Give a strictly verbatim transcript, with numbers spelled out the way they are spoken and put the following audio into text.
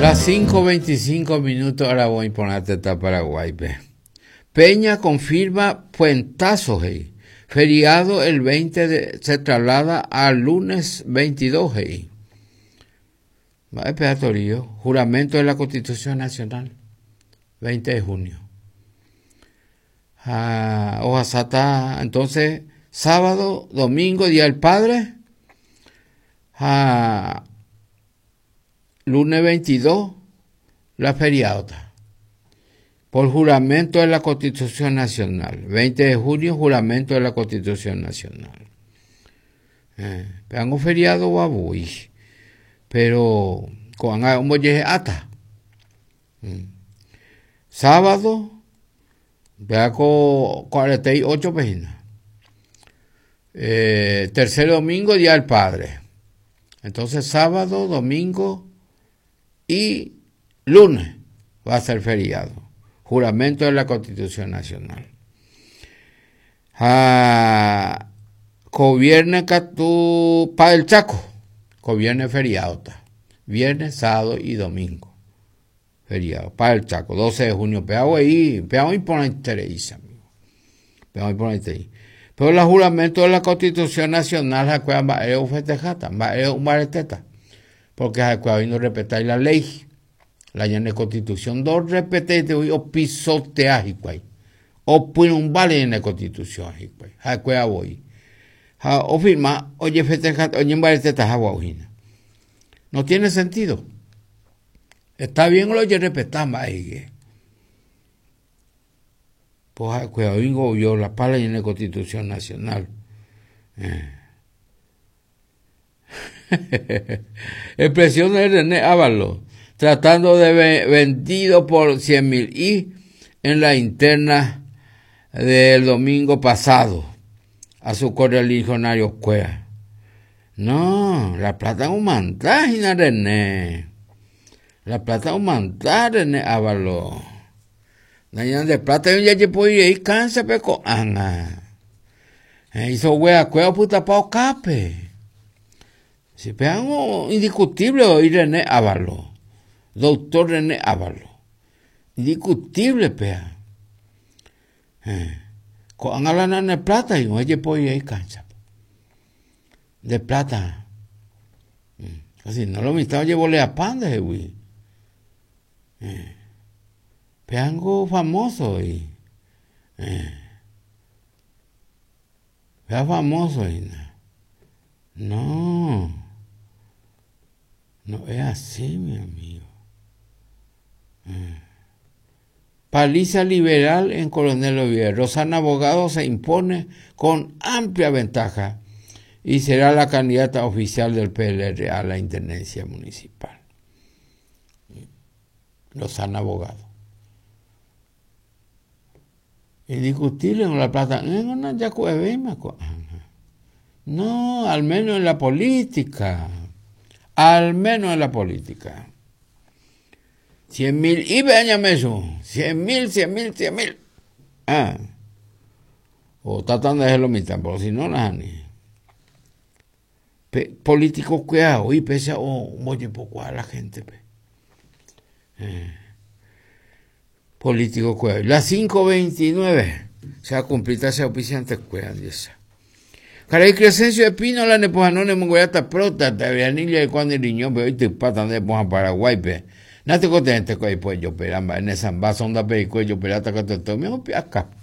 Las cinco veinticinco minutos aravo iporã tetã Paraguáipe. Peña confirma puentazo, he'i. Feriado el veinte de, se traslada al lunes veintidós, he'i. Mba'épe Torío? Juramento de la Constitución Nacional, veinte de junio. Ah, ohasáta, entonces, sábado, domingo, Día del Padre. Ah, lunes veintidós, la feriado. Por juramento de la Constitución Nacional. veinte de junio, juramento de la Constitución Nacional. Eh, un feriado voy. Pero con un ata. Mm. Sábado, vea con cuarenta y ocho páginas. Eh, tercer domingo, Día del Padre. Entonces, sábado, domingo y lunes va a ser feriado. Juramento de la Constitución Nacional. Ah, gobierno pa el Chaco. Gobierno feriado. Viernes, sábado y domingo. Feriado. Para el Chaco. doce de junio. Peago ahí. Peago y por interés, amigo. Peago y por interés. Pero el juramento de la Constitución Nacional, festejata, porque no respetar la ley. La ñane Constitución dos respete o pisotea hikuái. O un vale en la Constitución hikuái. Ha'ekuéra voi. Ha o firma oye festeja oye mbareteta hagua. No tiene sentido. Está bien lo oye respetar mba'e. Pues ha'ekuéra oingo la pala en la Constitución Nacional. Eh. Expresión de René Ábalos, tratando de vendido por cien mil y en la interna del domingo pasado a su correligionario cuea. No, la plata es un mantaje, René. La plata es un mantaje, René Ábalos. De plata ya puede ir cansa pe ko'ág̃a. Hizo wea cueva puta pa cape. Si pegan indiscutible hoy René Ábalos. Doctor René Ábalos. Indiscutible pea. Eh. Ko'ág̃a la nane plata y oye puede ir cancha. De plata. Así no lo mitad llevo le a pan de güey. Eh. Peango famoso y eh. Pea famoso y no. No es así, mi amigo. Eh. Paliza liberal en Coronel Oviedo. Rosana Abogado se impone con amplia ventaja y será la candidata oficial del P L R a la intendencia municipal. Rosana Abogado. Indiscutible en la plata. No, al menos en la política. Al menos en la política. Cien mil, y véñame eso. Cien mil, cien mil, cien mil. Ah. O tratando de hacerlo mitad, pero si no, nada ni. Políticos cuidado, y pese a oye poco a la gente. Pe. Eh. Político cuidado. Las cinco veintinueve. Se ha cumplido ese auspiciante cuidado. Caray Crescencio Espínola ne pohanone mongoyata prota te vianilla de cuando el riñón pero te patan de poja Paraguay pe. Nate contente ko pues yo peramba en esa sonda pe yo perata que te tomi acá.